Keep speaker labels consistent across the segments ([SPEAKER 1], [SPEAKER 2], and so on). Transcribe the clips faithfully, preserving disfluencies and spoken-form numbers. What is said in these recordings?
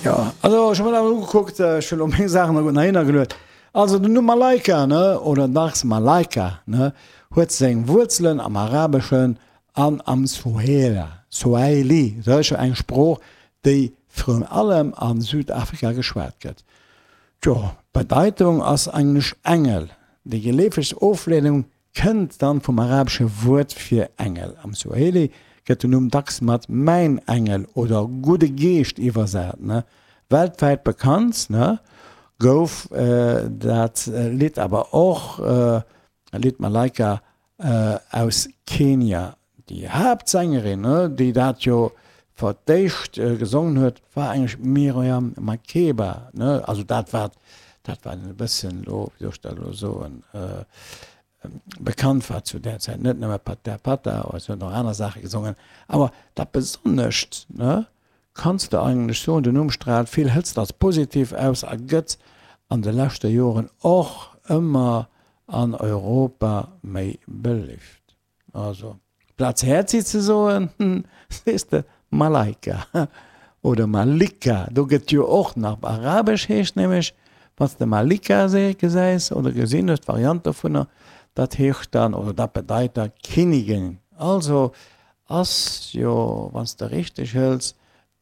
[SPEAKER 1] Jo, also ech hu mer dat emol ugekuckt, ech hunn elo meng Saachen nach gutt nach hinnergeluet. Also den Numm Malaika, ne, oder dacks Malaika, ne, huet seng Wuerzelen am Arabeschen an am Suhela, Swahili, sécher eng Sprooch, déi virun allem a Südafrika geschwat gëtt. Tjo, d'Bedeitung ass eigentlech Engel. Déi geleefegst Ofleedung kënnt dann vum arabesche Wuert fir Engel. Am Swahili gëtt den Numm dacks mat mäin Engel oder gudde Geescht iwwersat. Weltwäit bekannt gouf dat Lidd awer och, dat Lidd Malaika aus Kenia. Déi Haaptsängerin, déi dat jo fir d'éischt gesongen huet, war eigentlech d'Miriam Makeba. Also dat wat, dat wat e bëssen elo, wéi soll ech dat elo soen, bekannt war zu där Zäit. Net nëmme Pata Pata, si huet och aner Saache gesongen. Awer dat Besonnescht, kanns de eigentlech soen, den Numm straalt vill Hëtzt als positiv aus a gëtt an de leschte Joren och ëmmer an Europa méi beléift. Also plaz Häerzi ze soen, sees de Malaika oder Malika. Do gëtt jo och nach, op Arabesch heescht nämlech, wann s de Malika gesäis oder gesinn hues, d'Variant dovunner, dat heescht dann oder dat bedeit da Kinnigin. Also ass jo, wann s de richteg hëls,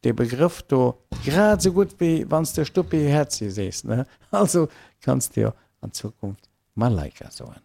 [SPEAKER 1] dee Begrëff do grad esou gutt wéi wann s de Stuppi Häerzi sees, ne? Also kanns de jo an Zukunft Malaika soen.